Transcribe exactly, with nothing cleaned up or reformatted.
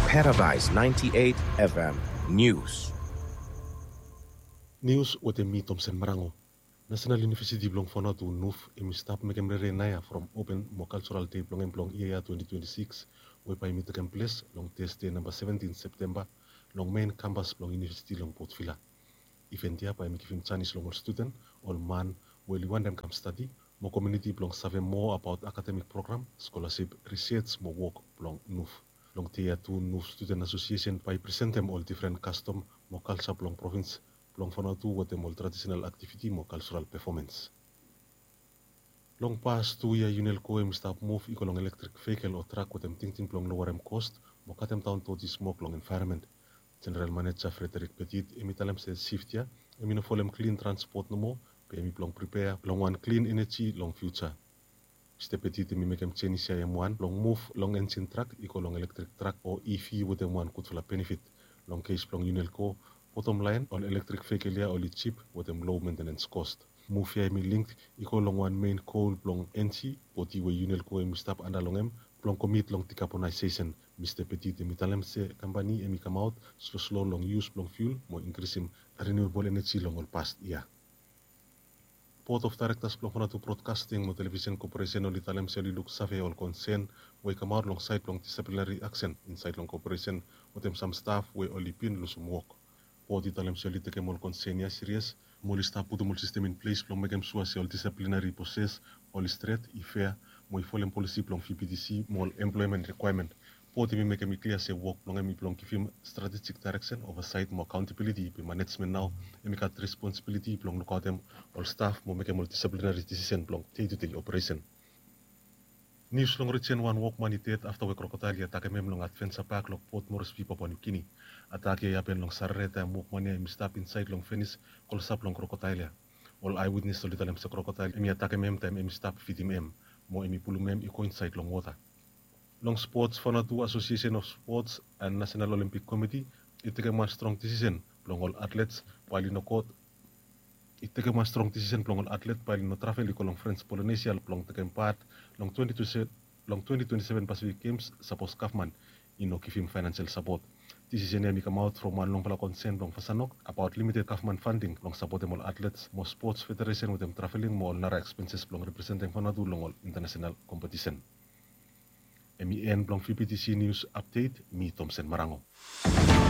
Paradise ninety-eight F M News. Nius wetem mi, Tomsen Marango. Nasenal Univesiti blong Vanuatu, nuf, hemi stap mekem rere naoia from open mo kaljoral dei blong hem blong yia ya twenty twenty-six, we bae hemi tekem ples long Tesde namba seventin Septemba long mein kampas blong univesiti long Port Vila. Iven ya bae hemi givim janis long ol studen, ol man we oli wantem kam stadi, mo komuniti blong save moa abaot akademik program, skolasip, risej mo wok blong nuf. Long dei ya tu, nuf Studen Asosiesen bae i presentem ol difren kastom mo kalja blong provins blong Vanuatu wetem ol tradisenal aktiviti mo kaljoral pefomens. Long pas tu yia, UNELCO hemi stap muv i go long elektrik vehikel o trak wetem tingting blong lowerem kos mo katem daon doti smok long envaeronmen. Jeneral Maneja Frederick Petit hemi talem se sift ya hemi no folem klin transpot nomo, be hemi blong pripea long wan klin eneji long fiuja. Mista Petit hemi mekem jenis ya hem wan blong muv long enjin trak i go long elektrik trak o EV wetem wan gudfala benefit. Long kes blong UNELCO, botom laen, ol elektrik vehikel ya oli jip wetem low maintenance cost. Muv ya hemi link i go long wan mein gol blong enji bodi we UNELCO hemi stap anda long hem blong komit long decarbonization. Mista Petit hemi talem se kampani hemi kamaot sloslo long yus blong fiul mo inkrisim renewable energy long ol pas ya. Board of Directors blong Vanuatu Broadcasting mo Television Corporation oli talem se oli luksave ol konsen we i kamaot long saed blong disciplinary action insaed long corporation wetem sam staf we oli bin lusum wok. Board i talem se oli tekem ol konsen ya sirias mo oli stap putum ol sistem in ples blong mekem sua se ol disciplinary proses oli stret, i fea, mo i folem polisi blong VBTC mo ol emploemen rikwaemen. Board hemi mekem i klia se wok blong hem i blong givim stratejik daereksen, ovasaet mo akaontabiliti, be manejmen nao hemi gat responsibiliti blong lukaotem ol staf mo mekem ol disiplinari disisen blong dei tu dei operesen. Nius long rijen, wan wokman i ded afta we krokodael i atakem hem long Adventure Park long Port Moresby, Papua New Guinea. Atak ya i hapen long Sarere taem wokman ya hemi stap insaed long fenis klosap long krokodael ya. Ol eyewitness oli talem se krokodael hemi atakem hem taem hemi stap fidim hem mo hemi pulum hem i go insaed long wota. Long spots, Vanuatu Association of Sports and National Olympic Committee i tekem wan strong disisen blong ol atlets bae oli no go i tekem wan strong disisen blong ol atlet bae oli no travel i go long French Polynesia blong tekem pat long twenty twenty-seven Pacific Games, sapos gavman i no givim faenasel sapot. Disisen ya hemi kamaot from wan longfala konsen blong Vasanok abaot limited gavman fanding blong sapotem ol atlets mo spots federesen wetem traveling mo ol nara ekspenses blong representem Vanuatu long ol intanasenal kompetisen. Hemi en blong VBTC Nius Apdet, mi Tomsen Marango.